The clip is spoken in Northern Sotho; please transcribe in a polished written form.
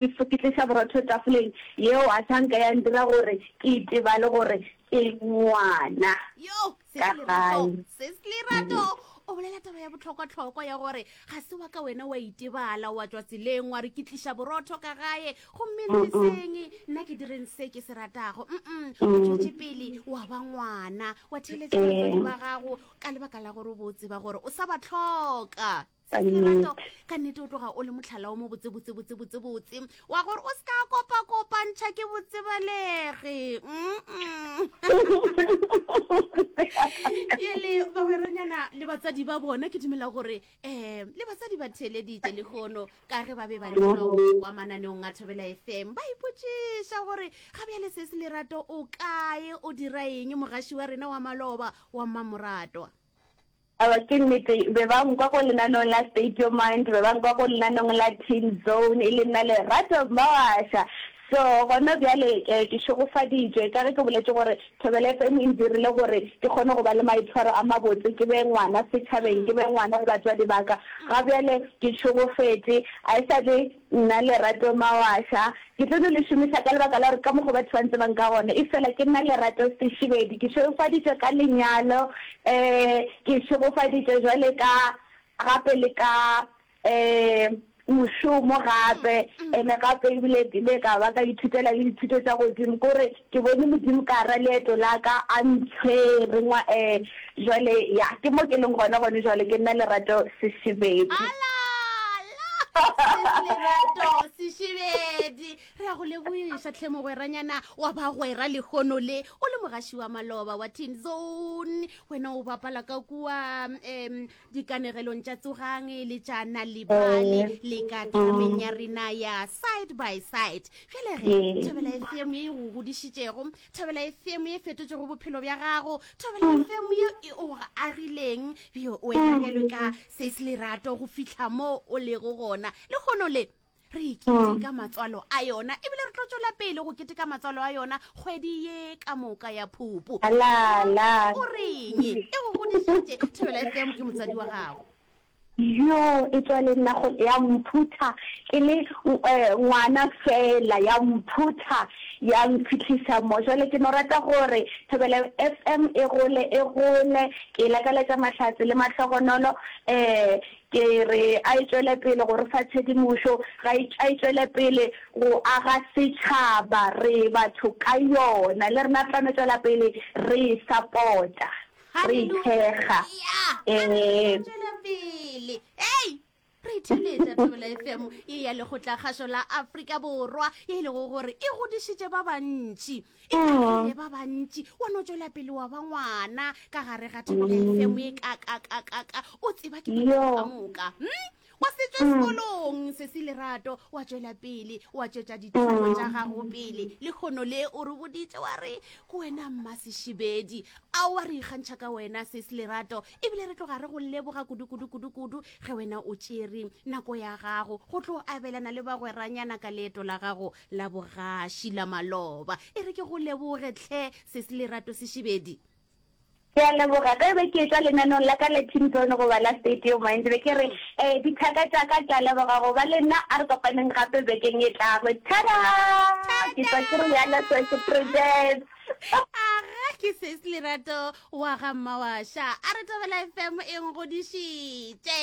Ke tliša borotho tafoleng yeo a sa nka ya ndira gore ke itebale gore ke ngwana Yo, ka Sis Lerato, gae. Sis Lerato, o bolela taba ya bohlokwa-hlokwa ya gore ga se wa ka wena wa itebala wa tšwa tseleng wa re ke tliša borotho ka gae gomme ntleseng nna ke direng se ke se ratago. Mm-mm, o tšwetše pele wa ba ngwana wa theeletša batswadi ba gago ka lebaka la gore o bo o tseba gore o sa ba hloka. Ka Lerato, nnete. ka nnete o tloga o le motlhala o mo botse botse botse botse botse wa gore o se ka kopa-kopantšha ke botsebalege Mm-mm. Bjale bagweranyana le batsadi ba bona ke dumela gore um le batsadi ba theeleditše lehono ka ge ba be ba leka go kwa mananeong a Thobela FM ba ipotšiša gore ga bjale se se Lerato o kae o dira eng mogaši wa rena wa maloba wa mmamoratwa. Aowa, ke nnete. Be ba nkwa ko lenaneong la State Your Mind, be ba nkwa ko lenaneong la Teen Zone, e le nna Lerato Mawasha. So, gona bjale ke, ke šegofaditšwe, ka ge ke boletše gore Thobela FM e ntirile gore ke kgone go ba le maitshwaro a mabotse, ke be ngwana setšhabeng, ke be ngwana go batswadi ba ka. Ga bjale ke šegofetše, a e sa le Nna Lerato Mawasha, ke tlo no le šomiša ka lebaka la gore ka mokgo batho ba ntsebang ka gona, efela ke nna Lerato Seshibedi, ke šegofaditšwe ka lenyalo, um ke šegofaditšwe jwale ka gape le ka um mošomo gape, ene gape ebile ke ile ka ba ka ithutela le dithuto tša godimo, ke gore ke bone Modimo ka gara leeto la ka a ntshwere ngwa um jwale ya ke mo ke leng gona gone jwale, ke nna Lerato Seshibedi. Lerato Sešibedi re a go lebogiša tlhe mogweranyana wa bagwera lehono le o le mogaši wa maloba wa Teen Zone wena o bapala ka kua um dikanegelong tša tsogang le tša nalibali le ka trameng ya rena ya side by side bjale ge Thobela FM ye e go godišitšego Thobela FM ye e fetotšego bophelo bja gago Thobela FM ye e o agileng bjo wena bjalo ka Se se lerato go fihla mo o lego gona. Lehono le, re e keteka matswalo a yona, ebile re tlo tšwela pele go keteka matswalo a yona kgwedi ye ka moka ya Phupu. La, la. O reng? E go godišitše. Thobela FM ke motswadi wa gago. Yo, e tšwa le nna go, ya mphutha ke le eh, ngwana fela, ya mphutha ya mphihlisa mo. Jwale ke no rata gore Thobela FM e gole, e gole. Ke e lakaletša mahlatse le mahlogonolo. Um ke re a e tšwele pele go re fa tshedimošo, ga e, a e tšwele pele go aga setšhaba, re batho ka yona. Le rena re tla no tšwela pele re e sapota, re e thekga. Haleluya! Um. Tšwela pele. Hei! Re itheletša Thobela FM ye ya Lekgotlakgašo la Afrika Borwa ye e lego gore e godišitše ba bantši, e agile ba bantši. Wa no tšwela pele wa ba ngwana ka gare ga Thobela FM ye ka ka ka ka ka o tseba ke batho ka moka. Hmm? Wa se tšwe sekolong sesi Lerato, wa tšwela pele wa tšwetša dithuto tša gago pele. Lehono le o re boditše wa re ke wena Mmasešibedi. Aowa re ikgantšha ka wena sesi Lerato ebile re tloga re go leboga kudu kudu kudu kudu ge wena o tšere nako ya gago go tlo abelana le bagweranyana ka leeto la gago la bogaši la maloba. E re ke go leboge tlhe sesi Lerato Sešibedi. Ke a leboga. Ge be ke etšwa lenaneong la ka la Teen Zone goba la State Your Mind, be ke re, Ee, dithaka tša ka, ke a leboga go ba le nna. A re kopaneng gape bekeng e tlago. Thada! Ke tšwa ke re bjalo, Sesi Prudence. Aga, ke Sesi Lerato wa ga Mmawaša. A re Thobela FM e nkgodišitše.